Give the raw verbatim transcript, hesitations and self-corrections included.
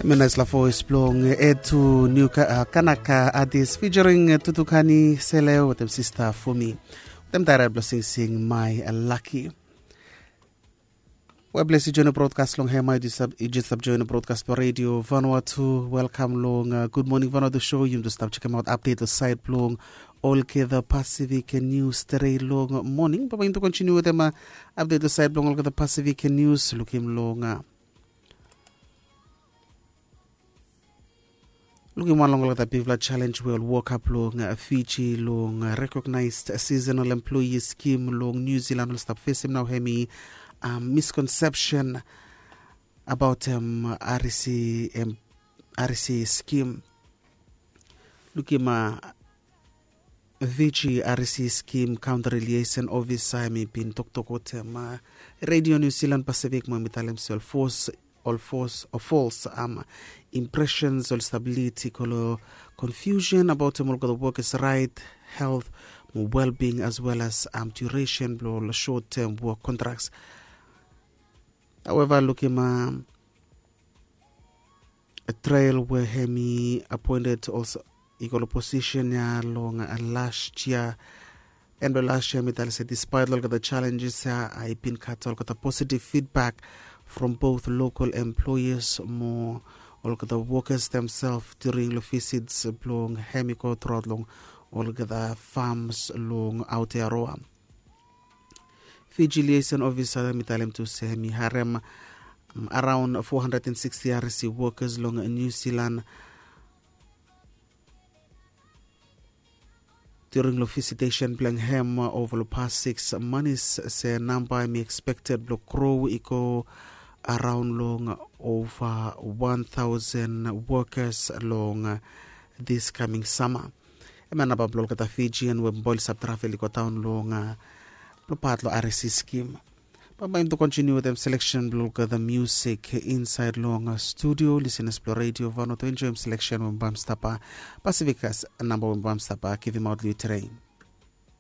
Menaisla voes blong Etu New Kanaka artis featuring Tutukani Sele wetem sista Fumi. Wetem daira blong singsing My Lucky. We blesi join brodkas long hema. Yu jes stap join brodkas blong redio Vanuatu. Welkam long Good Morning Vanuatu show. Yum tu stap chekem aut update long sait blong olgeta Pacific News today long moning. Baba yum tu kontiniu wetem update long sait blong olgeta Pacific News. Lukim long lukim wan long olgeta bigfala challenge we ol woka blong Fiji long recognized seasonal employee scheme long New Zealand ol stap fesim nao hemi misconception about em RC em RC scheme. Lukim Fiji RC scheme counter liaison officer hemi bin toktok wetem Radio New Zealand Pacific mo hemi talem se ol fos ol fos o fos impressions ol stability kolo confusion about em olgeta workers right, health mo well-being as well as duration blong ol short term work contracts. However lukim trail we hemi appointed olso i go long posisen ya long last year. En blong last year mi talem se despite olgeta challenges ya, i bin gat olgeta positive feedback from both local employers mo olgeta workers themselves during long visits blong hemi go throughout long olgeta farms long Aotearoa. Fiji liaison officer mi talem tu se mi harem around four hundred and sixty RC workers long New Zealand during long visitation blong hem over long past six months se namba hemi expected blong grow i go around long over one thousand workers long this coming summer. Em ya namba blong olgeta Fijian we bambae oli stap travel i go daon long blong pat long RC scheme. Bambae yum tu kontiniu wetem selection blong olgeta music inside long studio. Listeners blong Radio Vanuatu enjoem selection we bambae stap Pacific as namba we bambae stap givimaot long yu today.